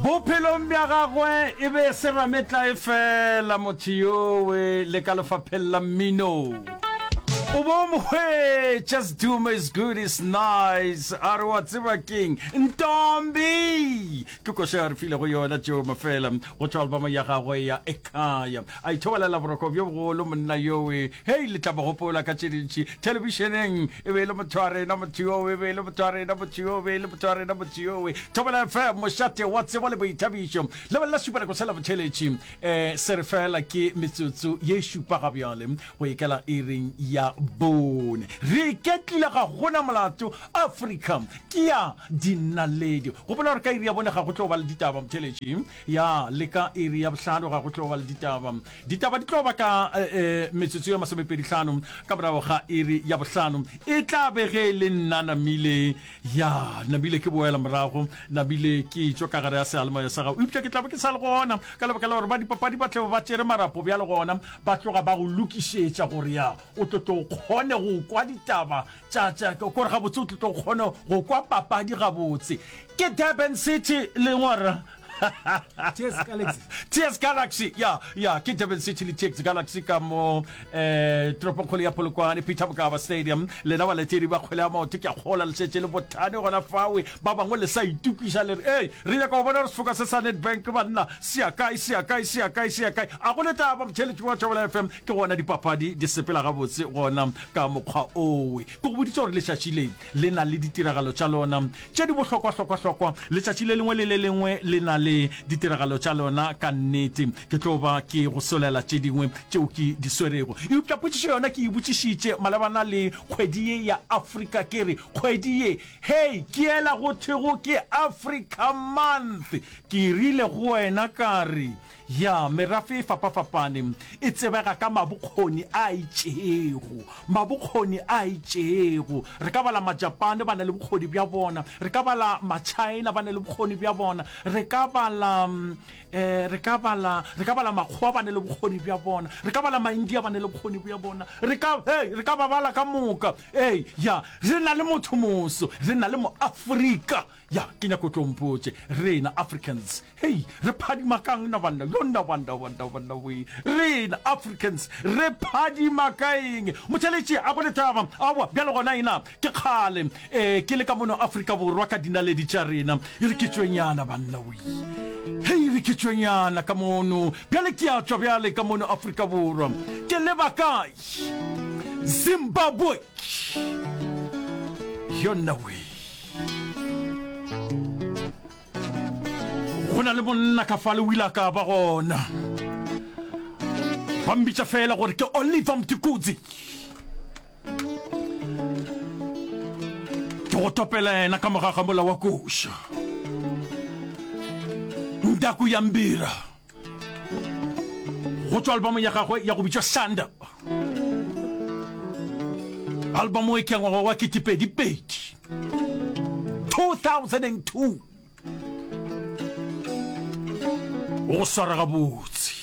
Bophelong bja gagwe e be e se rametlae feela motho yowe le ka lefapheng la mmino. O bo mo hwetša Sdumo is good is nice a re wa tseba keng Ntombi ke koša ya re filego yona Joe Mafela go tšwa album ya gagwe ya Ekhaya a ithobalela boroko bjo bogolo monna yowe hei le tla mo gopola ka tše dintši thelebišeneng e be e le motho wa rena motho yowe e be e le motho wa rena motho yowe e be e le motho wa rena motho yowe Thobela FM mošate wa tsebo le boithabišo lebelela šupanako sela botheletši um se re fela ke metsotso ye šupa ga bjale go ikela iring ya bone re iketlile ga gona molato Afrika ke ya dinaledi gopola gore ka iri ya bone ga go tlo ba le ditaba motheletši ya le ka iri ya bohlano ga go tlo ba le ditaba ditaba di tlo ba ka eh, eh, metsotso ya masomepedihlano ka morago ga iri ya bohlano e tla be ge e le nna namile Ya, nabile ke boela morago, nabile ke tšwa ka gare ya seyalemoya sa gago, eupša ke tla be ke sa le gona, ka lebaka la gore ba dipapadi ba tle ba tšere marapo bjale gona ba tloga ba go lokišetša gore ya o tlo tlo kgone go kwa ditaba tša tša kore gabotse o tlo tlo kgone go kwa papadi gabotse. Ke Durban City le ngwara TS Galaxy. TS Galaxy ya ya ke Durban City le TS Galaxy ka mo eh toropongkgolo ya Polokwane Peter Mokaba Stadium lena balatedi ba kgwele ya maoto ke a kgola le šetše le bothane gona fawe ba bangwe le sa itokiša le re ei re nyaka go bona gore sefoka se sa Nedbank banna se ya kae se ya kae se ya kae se ya kae a go le taba motheeletši wa Thobela FM ke gona dipapadi di sepela gabotse gona ka mokgwa owe ke go boditše gore letšatši le Le na le ditiragalo tša lona tše di bohlokwa-hlokwa-hlokwa. Letšatši le lengwe le le lengwe le na le ditiragalo tša lona. Ka nnete, ke tlo ba ke go solela tše dingwe tšeo ke di swerego. Eupša potšišo yona ke e botšišitše malebana le kgwedi ye ya Afrika, ke re, Kgwedi ye, hei, ke yela go thwego ke Africa Month. Ke rile go wena ka re, Ya, merafe e fapafapane e tsebega ka mabokgoni a itšego. Mabokgoni a itšego. Re ka bala Majapane ba na le bokgoni bja bona, re ka bala Machina ba na le bokgoni bja bona, re ka bala um re ka bala re ka bala Makgowa ba na le bokgoni bja bona, re ka bala Maindia ba na le bokgoni bja bona, re ka hey, re ka ba bala ka moka. Ee, ya, re na le motho moso, re na le Moafrika. Ya, ke nyako tlo mpotše, rena Africans, hei, re phadima kang na banna? Yo nna banna, banna, banna we. Rena Africans, re phadima ka eng? Motheletši, a go le taba. Aowa, bjale gona ena, ke kgale, eh, ke le ka mono Afrika Borwa ka dinaledi tša rena. E re ke tšwenyana, banna we. Hei, re ke tšwenyana ka mono. Bjale ke a tšwa bjale ka mono Afrika Borwa. Ke leba kae? Zimbabwe. Yo nna we. Go na le monna ka fale o ile a ka ba gona. Ba mmitša fela gore ke Oliver Mtukudzi. Ke go topela yena ka morago ga mola wa koša. Ndaku ya mbira. Go tšwa albamong ya gagwe ya go bitšwa Shanda. Albamo e ke ya ngwaga wa ketepedipedi, 2002. Go swara gabotse.